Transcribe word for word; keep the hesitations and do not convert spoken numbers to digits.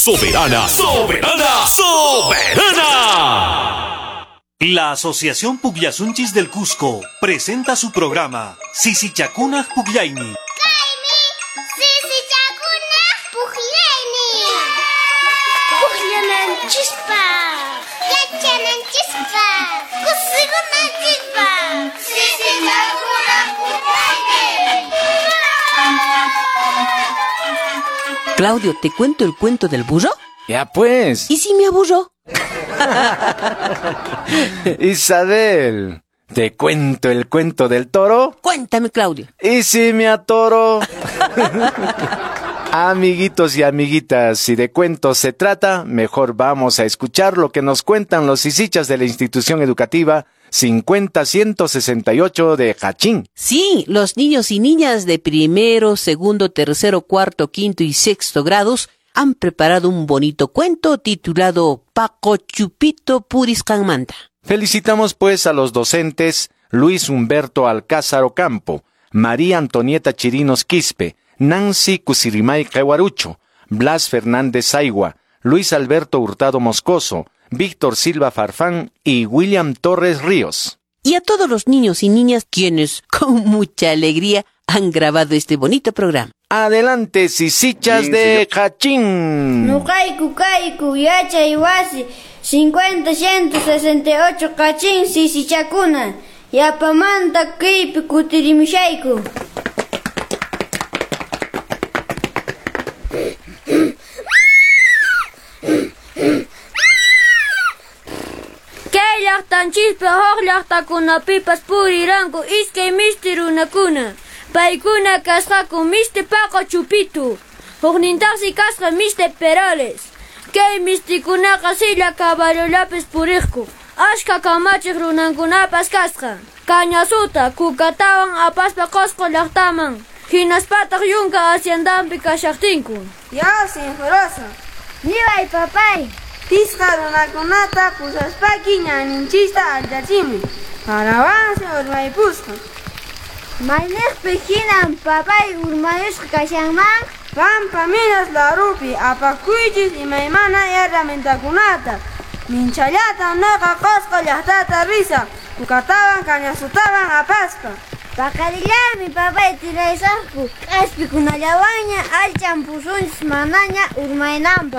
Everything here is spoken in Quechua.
Soberana, soberana, soberana. La Asociación Pugllasunchis del Cusco presenta su programa Sisichakuna Pugllayni. Kaymi Sisichakuna Pugllayni. Pugllananchispaq, yachananchispaq, kusikunanchispaq. Sisichakuna Pugllayni. Claudio, ¿te cuento el cuento del burro? Ya pues. ¿Y si me aburro? Isabel, ¿te cuento el cuento del toro? Cuéntame, Claudio. ¿Y si me atoro? Amiguitos y amiguitas, si de cuentos se trata, mejor vamos a escuchar lo que nos cuentan los sisichas de la institución educativa cincuenta ciento sesenta y ocho de Jachín. Sí, los niños y niñas de primero, segundo, tercero, cuarto, quinto y sexto grados han preparado un bonito cuento titulado Paco Chupito Puriscanmanta. Felicitamos pues a los docentes Luis Humberto Alcázar Ocampo, María Antonieta Chirinos Quispe, Nancy Cusirimay Caguarucho, Blas Fernández Aigua, Luis Alberto Hurtado Moscoso, Víctor Silva Farfán y William Torres Ríos. Y a todos los niños y niñas quienes con mucha alegría han grabado este bonito programa. Adelante, sisichas de Jachín. Nuqayku kayku yachay wasi cincuenta ciento sesenta y ocho Jachín sisichakuna. Yapamanta kaypi kutirimushayku. Kay llaqtanchispi huk llaqtakunapipas puriranku iskay misti runakuna. Paykuna kasqaku misti Paco Chupito, huknintaqsi kasqa misti Perales. Kay mistikunaqa silla caballollapis puriqku. Ashka kamachiq runankunapas kasqa. Cañasuta, kukatawan apaspa Qosqo llaqtaman. Hinaspataq yunka haciendanpi kashaqtinku. Ya, sinforosa. Niway papay. Pisqa runakunata pusaspaki ñaninchista allachimi. Parawansi urmaypusqa. Mayniqpi hinan papay urmayusqa kashanman? Pampa minas larupi apakuychis imaymana herramientakunata. Minchallata nuqa Qosqo llaqtata risa, kukatawan cañasutawan apaspa. Paqarillarmi papay tiraysaqku, k'aspikunallawanña allchan pusunchis manaña urmaynanpaq.